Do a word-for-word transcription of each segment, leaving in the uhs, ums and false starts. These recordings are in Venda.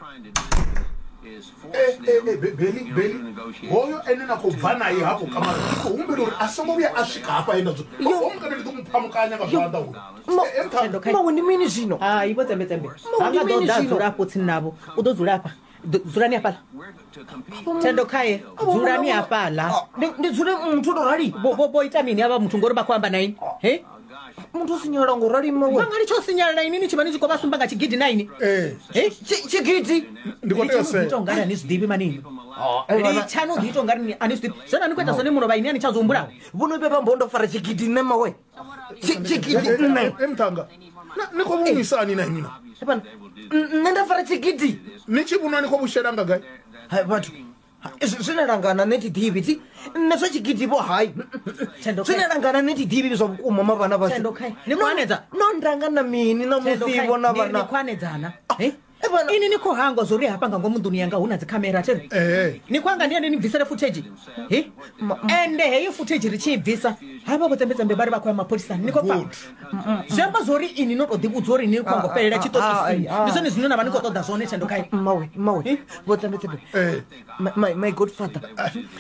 Eh, eh, eh, Be- beli beli hoyo ene na khou bva naye hafho kamara ndi khou humbela uri a songo vhuya a swika hafha he nda dzula omukana ndi ḓo mu phamukanya nga zwanḓa uyu. Eh, eh, Thendo khae. Mawe, ndi mini zwino? Hai, vho tsembetsembe Mawe, ha ndi nga ḓo mini ḓa zwino? dzula afho tsini navho, u ḓo dzula afha. Ḓo- dzulani hafhaḽa, Thendo khae, dzulani hafhaḽa. Ah, ndi ndi dzule muthu o to rali? Vho- vho vho ita mini avha muthu ngori vha khou amba na ini he? Muthu o sinyala ngo rali, mawe? Vha nga litsha u sinyala na ini ni tshi vha ni tshi khou vha sumba nga tshigidi na ini. Eh, He? Tshi- tshigidi ndi khou tea u Litshani u ḓi ita sea. ungari a ni zwi ḓivhi manini. Eh, vhana- Litshani u ḓi ita ungari a ni zwi ḓivhi zwone a ni khou ita zwone mulovha ini a ni tsha zwi humbula. Vho no vhe vha mbo ndo fara tshigidi nṋe, mawe? Tshi- tshigidi nṋe? E muṱhanga, Na- ni khou vhunisani na inwi na? Eh, vhana, n- nṋe nda fara tshigidi? Ni tshi vhunwa ni khou vhushela nga gai? Hai vhathu. Ha, zwi- zwine langana nṋe thi ḓivhi thi nṋe zwa tshigidi vho hai. Thendo Zwine khae. langana nṋe thi ḓivhi zwa vhukuma ma vhana vhashu. Thendo khae. Ni khou hanedza? No ndanga na mini na Thendo musi khae. vho na Ni ri ni vhana? khou hanedzana. He? Eh, vhana- Ini ni khou hangwa zwo uri hafha nga ngomu nḓuni yanga hu na dzikhamera there? Ee. Ni khou hanga ndi ane ni bvisele footage he? Ende heyo footage ri tshi i bvisa havha vho tsembetsembe vha ri vha khou ya mapholisani, ni khou pfa? Good. Zwi amba zwori ini no to ḓivhudza uri ni khou ngo fhelela tshiṱokisini. Ah, ah, ah. Ndi zwone zwine na vha ni khou ṱoḓa zwone, Thendo khae. Mawe, mawe, vho tsembetsembe. Eh. my, my, my godfather,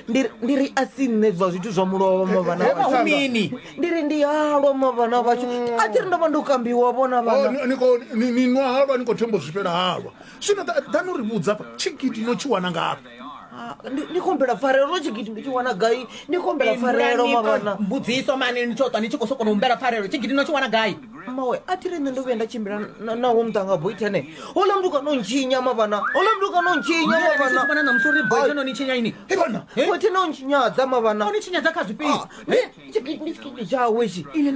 ndi ri- ndi ri a si nṋe zwa zwithu zwa mulovha ma vhana Eh, vhashu. Hu mini? Ndi ri ndi halwa ma vhana vhashu, a thi ri ndo vha ndo kambiwa vhona Oh, vhana. ni- ni khou- ni ni nwa halwa, ni khou themba u zwifhela halwa zwino. ḓa- ḓani uri vhudza hafha, tshigidi no tshi wana ngafhi? Ah, ndi ndi khombela pfarelo, tshigidi ndi tshi wana gai? Ndi khombela pfarelo ma vhana. Mbudziso mani, ni tsho ṱwa ni tshi khou sokou humbela pfarelo, tshigidi no tshi wana gai? Mawe, a thi ri nṋe ndo vhuya nda tshimbila na- nawo muṱanga boithene houḽa muthu kana u ntshinya ma vhana, houḽa muthu kana u ntshinya ma Ni tshi vhona vhana. ṋamusi uri boy no ni tshinya ini? He vhana. Boithene o ntshinyadza ma vhana. O ni tshinyadza kha zwifhio? Ah, ndi tshigidi ndi tshigidi tshawe tshi. Ini.